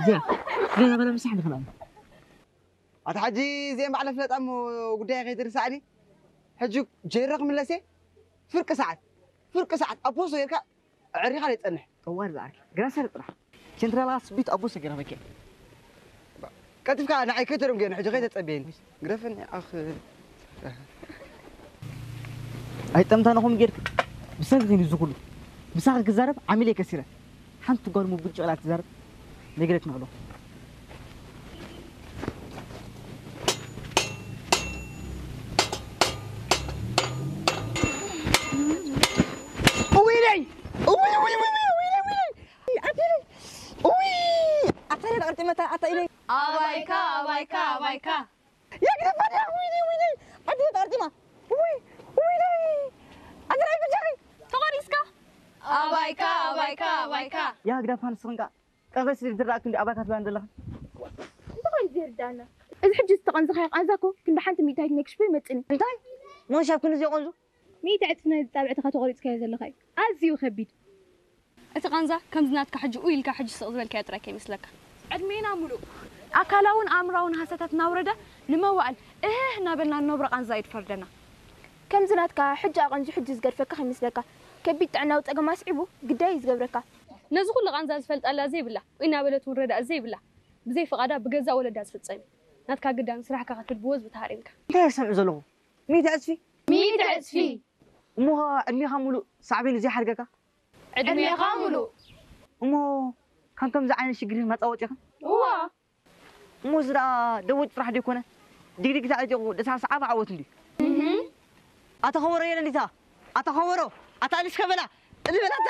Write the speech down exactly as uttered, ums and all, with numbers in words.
ዜ፣ ገለ ገለ ምሳሕ ንኽልአም። አታ ሐጂ ዜን ባዕለ ፍለጣ እሞ ጉዳይ ከይትርሳዕኒ። ሕጂ ጀይረ ክምለሴ ፍርቂ ሰዓት፣ ፍርቂ ሰዓት አቦሶ ጌርካ ዕሪኻ ለይጸንሕ። ጠዋር ዝዓርኪ፣ ግራ ሰር ጥራሕ። ቸንትራላ ስቢት አቦሶ ጌርካ መኬ። ቀልጢፍካ ንዓይ ከይተረም ጌርኒ፣ ሕጂ ከይተጸብየኒ። ግረፍኒ አኽ። ኣይጠምታነኹም ጌርክ ብሰንክን እዩ ዝኹሉ። ምሳኺ ክዛረብ ዓሚለይ ከሲረ። ሓንቲ ጓል ሙብጭ ላ ትዛረብ ነግረክ ንኽሎ። እውይ ለይ! እውይ፣ እውይ፣ እውይ፣ እውይ፣ እውይ ለይ፣ እውይ ለይ! እውይ! አታ ለይ ለቀርጢ መታ አታ ኢለይ። አባይካ፣ አባይካ፣ አባይካ። ያ ግደፋን ያ፣ ወይኔ፣ ወይኔ፣ አዲ ተቃርጢማ። ውይ፣ ውይ፣ ናይ። አንተ ላይ ብቻ ነኝ። ተቋሪስካ? አባይካ፣ አባይካ፣ አባይካ። ያ ግደፋን ስንቃ። ቀዘስ ድራክ እንዲ አባካት ባንደላ። እንታይ ዘርዳና? እዚ ሕጂ ዝተቐንዘኻዮ ቃንዛ እኮ ክንዲ ሓንቲ ሚእታዊት ነክሽፎ ይመጽእኒ። እንታይ? ሞን ሻብ ክንዚ ይቐንዙ? ሚእቲ ዕጽፊ ናይዚ ጻብዕትኻ ተቖሪጽካዮ ዘለኻ እዩ። ኣዝዩ ከቢድ። እቲ ቃንዛ ከምዚ ናትካ ሕጂ ኡይ ኢልካ ሕጂ ስቕ ዝበልካዮ ጥራይ ከይመስለካ። ዕድሜና ሙሉእ ኣካላውን ኣእምራውን ሃሰታት እናውረደ ንመዋእል እህህ እናበልና ንነብሮ ቃንዛ እዩ ዝፈርደና። ከምዚ ናትካ ሕጂ ኣቐንዙ ሕጂ ዝገድፈካ ከይመስለካ። ከቢድ ጥዕናዊ ጸገም ኣስዒቡ ግዳይ እዩ ዝገብረካ። ነዚ ኩሉ ቃንዛ ዝፈልጣላ ዘይብላ፣ ኡይ እናበለት እውን ረዳእ ዘይብላ፣ ብዘይ ፍቓዳ ብገዛእ ወለዳ ዝፍጸም እዩ። ናትካ ግዳን ስራሕካ ክትብል ብወዝቢ ተሃሪምካ። እንታይ እሰምዕ ዘለኹ? ሚእቲ ዕጽፊ? ሚእቲ ዕጽፊ። እሞ ዕድሜኻ ሙሉእ ሳዕቤኑ ዘይሓድገካ? ዕድሜኻ ሙሉእ። እሞ፣ ከም ከምዚ ዓይነት ሽግር መጻ ወጺእኽን? እዋ። እሞ፣ እዚ ደኣ ደወጭ ጥራሕ ደይኮነ፣ ዲግዲግ ተዓጢቑ ደሳስ ዓፋ ዓወት እንድዩ። እህ። ኣታ ኸበሮ የለ እንዲታ? ኣታ ኸበሮ፣ ኣታ ኣሊስ ከበላ፣ እሊ በላታ።